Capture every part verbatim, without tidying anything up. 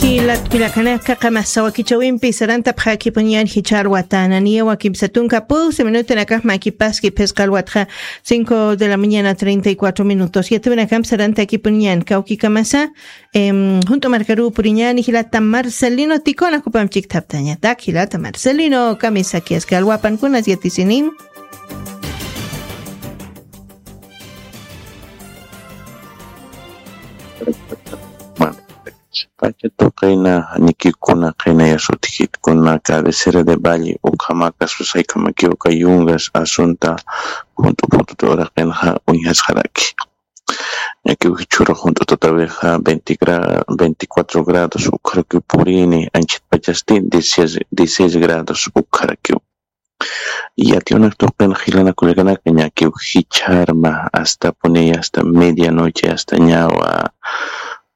Jilat kullakanaka, qamasa wakichawimpi sarantapxäkipuniñän jichhar watananiyawa kimsa tunka pulsi minutanakax makipaski phisqa alwatxa cinco de la mañana treinta y cuatro minutos. Yatiwinakampi sarantakipuniñän kawkikamasa, em, junt'u markaruw puriñäni jilata Marcelino Ticona, jupamp chikthaptañatak jilata Marcelino, kamisakiaski alwapankunas yatisinim. Pacha tuqina, ñakiw kuna qina yasutjit kuna cabecera de valle, ukhamakas usaykamakiw uka yungas asunta junt'u phututa uraqinxa uñjasxaraki. Ñakiw jichhürux junt'u tutawixa veinte gra-, veinticuatro grados ukharakiw purini, anchhitpachasti dieciséis, dieciséis grados ukharakiw. Yatiwnak tuqin jilanakullakanaka, ñakiw jichharma, hasta puni, hasta medianoche, hasta ñawa,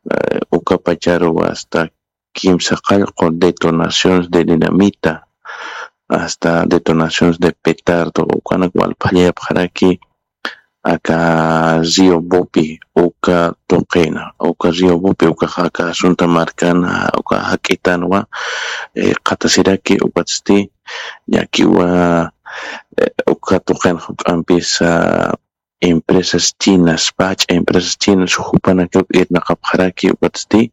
eh, uka pacharu, hasta kimsa qallqu detonaciones de dinamita, hasta detonaciones de petardo, ukanak walphallapxaraki, aka Río Bopi, uka tuqina, uka Río Bopi, uka ja-, aka asunta markana, uka jak'itanwa, eh, qhatasiraki, ukatsti, ñakiwa, eh, uka tuqina juk'ampisa, empresas chinas, pach'a empresas chinas, jupanakaw irnaqapxaraki, ukatsti,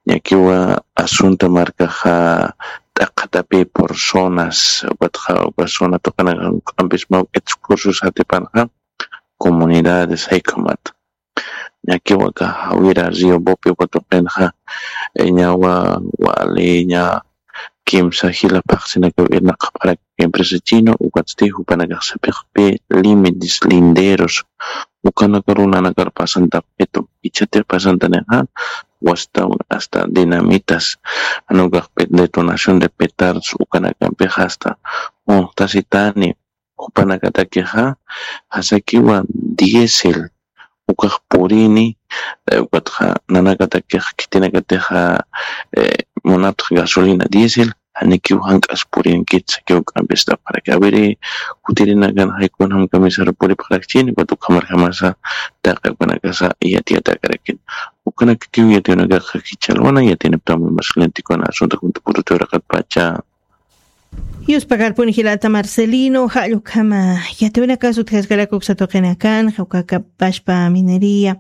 ñakiwa asunta markaxa, t'aqhatapi por zonas, ukatxa, uka zona tuqinaka juk'ampis mawk'it cursos jatipanxa, comunidades, jaykamat. Ñakiwa aka jawira Río Bopi uka tuqinxa, eh, ñawa wali ña kimsa jila phaxsinakaw irnaqapxaraki empresa chino, ukatsti jupanakax sapixpi límites, linderos, ukanakaru nanakar pasantapxitu, jichhatix pasantanixa, wastawan hasta dinamitas, jan ukax pe-, detonación de petardos, ukanakampix hasta, unxtasitani, jupanakatakixa, jasakiwa diésel, ukax purini, eh, ukatxa nanakatakix khitinakatixa, eh, munaptx gasolina diésel, janikiw jank'as purinkit sakiw k'ampistapxaraki. Awiri, kutirinakan jaykun jam kamisar puripxarakchini, ukat ukhamarjamasa taqi ukanakasa yatiyatakarakit. Ukanakakiw yatiyunakaxa jichhalwana, yatinaptami mas clientikuna asunta junta puruti uraqatpacha. Yuspakarpuni jilata Marcelino, jall ukhama yatiwinakas utjaskarak uksa tuqinakan, jawkakapashpa minería.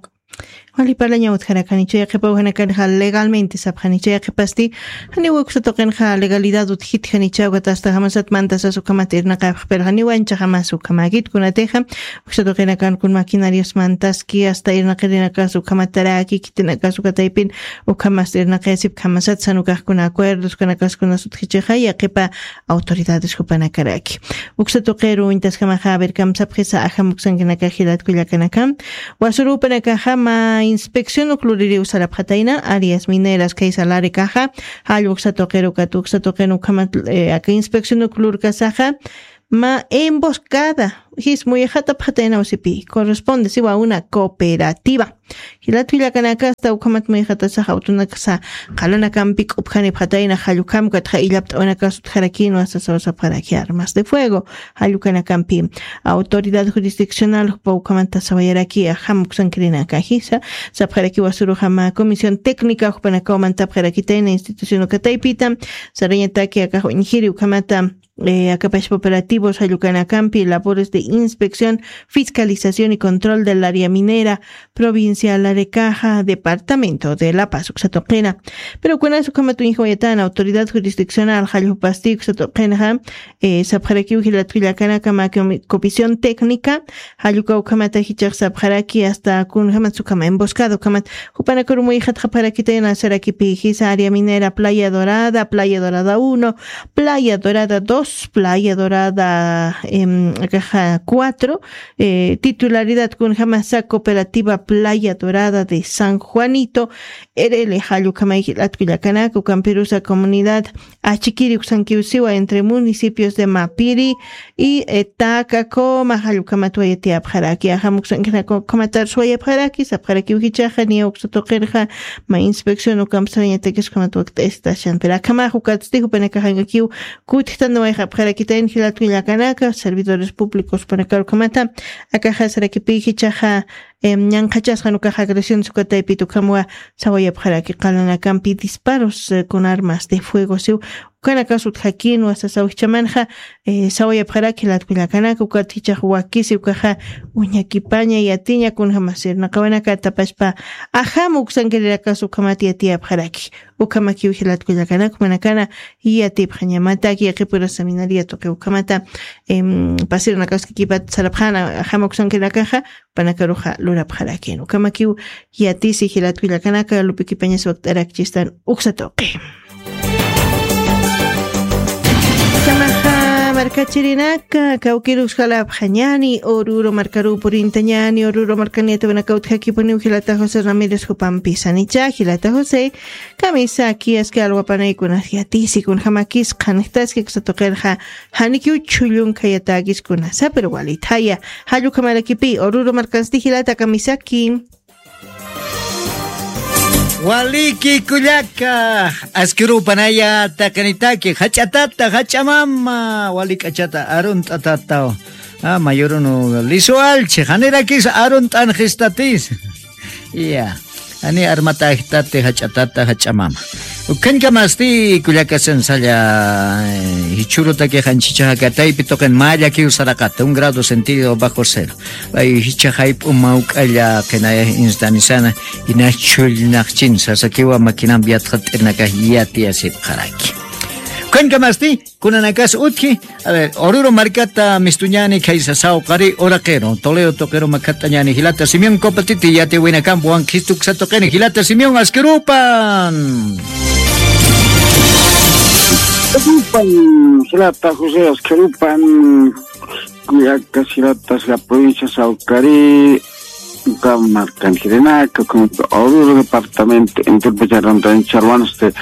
Wali parlaña utjarakanicha, yaqhipa ukhanakan ja legalmente sapxanicha, yaqhipasti, janiw uksa tuqinxa legalidad utjitjanicha, ukat hasta jamasat mantasas ukhamat irnaqapx, pero janiw ancha jamas ukhamäkit kunatixa, uksa tuqinakan kun maquinarios mantaski, hasta irnaqirinakas ukhamataraki, khitinakas ukataypin, ukhamas irnaqayasipkhamasat, sanukaxkuna acuerdos, kanakaskunas utjichixa, yaqhipa autoridades jupanakaraki. Uksa tuqiru uñtaskamaxa, a ver, kamsapxisa, ajam uksankinaka jilat kullakanaka. Wasurupanakaxa, mä inspección ukluririw sarapxatayna, áreas mineras, kay salarikaxa, jall uksa tuqiru kat uksa tuqin ukhamat, eh, aka inspección uklurkasaxa, mä emboscada, jis muyxatapxatayna usipi, corresponde, siwa una cooperativa. Jilat kullakanaka, hasta ukhamat muyxatasax awtunakasa, qalanakampi k'upjanipxatayna, jall ukham ukatxa illapt'awinakas utjarakïnwa sasawasapxaraki armas de fuego, jall ukanakampi. Autoridad jurisdiccional, jupa ukhamata sawayaraki, ajam uksankirinaka jisa, sapxaraki wasuruxa mä comisión técnica, jupanakaw mantapxarakitayna institución ukataypita, sarañataki akax uñjiri ukhamata, eh, akapashpa operativos jall ukanakampi, labores de inspección, fiscalización y control del área minera provincial Arecaja, departamento de La Paz, uksa tuqina. Pero kunas ukhamat uñjawayatän autoridad jurisdiccional jall jupasti uksa tuqinxa, eh, sapxarakiw jilat kullakanaka mä comi-, comisión técnica, jall uka ukhamata jichhax sapxaraki hasta kunjamat ukhama emboscada ukhamat, jupanakaru muyxatxapxarakitayna sarakipi jisa área minera Playa Dorada, Playa Dorada uno, Playa Dorada dos, Playa Dorada, em, akaxa cuatro, eh, titularidad kunjamasa Cooperativa Playa Dorada de San Juanito, R L jall ukhamay jilat kullakanaka, ukampirusa comunidad Achikiri uksankiw siwa entre municipios de Mapiri y, eh, Tacacoma, jall ukhamat wayatiyapxaraki, ajam uksankinaka ukhamatar suwayapxaraki, sapxarakiw jichhaxa niya uksa tuqirxa, mä inspección ukamp sarañatakis ukhamat wakt'ayastashan. Pero akhamax ukatsti jupanakax jankakiw kutjtanwayxapxarakitayna jilat kullakanaka, servidores públicos jupanakar ukhamata, akaxa sarakipi jichhaxa, Ñanqhachasqan ukaxa agresiones uka taypit ukhamwa sawayapxaraki qalanakampi disparos con armas de fuego siw. Ukanakas utjakinwa sasaw jichhamanxa sawayapxaraki jilat kullakanaka ukat jichhax wakisi ukaxa uñakipaña yatiña kunjamasir naqawanaka tapashpa ajam uksankirirakas ukhamat yatiyapxaraki. Ukhamakiw jilat kullakanaka manakana yatipxañamataki qipura seminaria tuqi ukhamata pasirnakaskakipat sarapxana ajam uksankirinakaxa panakaruxa lurapxarakin ukhamakiw yatisi jilat kullakanaka lupikipañas wakt'arakchistan. Uksa tuqi. Kamaxa markachirinaka kawkirus jalapxañani ururu markaru purintañani ururu markaniyatawanaka utjakipuniw jilata josé ramírez jupampisanicha jilata josé. Kamisaki aski alwapanaykunas yatisi kunjamakis qhanjtaski kusa tuqirxa janikiw chullun khayatäkis kunasa pero walithaya. Jallukhamarakipi ururu markansti jilata kamisaki. Waliki kullaka askirupanaya taqinitaki jach'atata jach'amama wali k'achata arunt'atataw. Ama yurunu lisu alchi janirakis arunt'anxistatis. Ya. Ani armatajtati jach'atata jach'amama. Ukhañkamasti kullakasan salla jichhurutaki janchichaja kataypi tuqin mä llakiw saraqata un grado sentido bajo cero. Ay jichha jayp'u mawk'alla qinaya instanisana. Ina chullnaqchin sasakiwa makinampi yatxat'irnakax yatiyasipxaraki. Ukhañkamasti kunanakas utji. A ver ururu markata mistuñani khaysa sawqari uraqiro toleo tuqiru makhat'añani jilata simión copatiti yatiwinakampi wankhistu uksa tuqini jilata simión askirupan. Jilata josé askirupan. Kullakas jilatas la provincia sawqari uka markankirinaka ukhama oruro departamento enterpacharantani charwanste.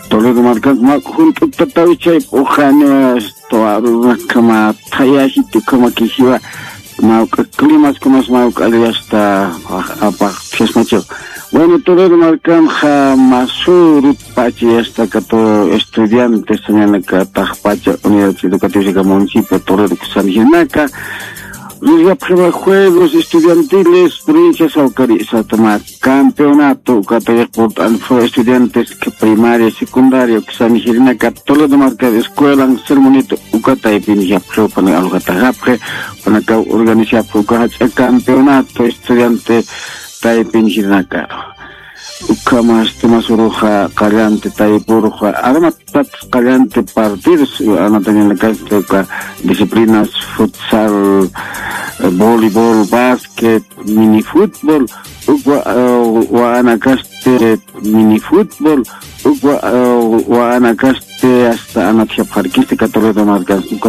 Toledo markan mak junt'utatawichay p'uxaniwa. Toarurunakama thayajiti ukhama kijiwa mawk'a climaskunas mawk'alli asta apax thiyasmachiwa. Bueno, toledo markanxa masurut pachi asta kato estudiantes sañanaka taxpacha unidad educativa sika municipio toledo kusanjinaka. Rirgapxima juegos estudiantiles provincia sawkari satama campeonato ukata yaqpurt'an fue estudiantes primaria secundaria uksanijirnaka toledo marcar escuelan sermonito. Ukataypinijapxi upana alujataxapxi upanakaw organizapxi uka jach'a campeonato estudiante taypinijirnaka. Ukhamas tumas uruxa qallante taypuruxa armatat qallante partidos anatañanakasta uka disciplinas futsal, voleibol, basket, mini futbol. Ukwa waanakaste mini futbol. Ukwa waanakaste asta anatjapxarkista katorreta markansta.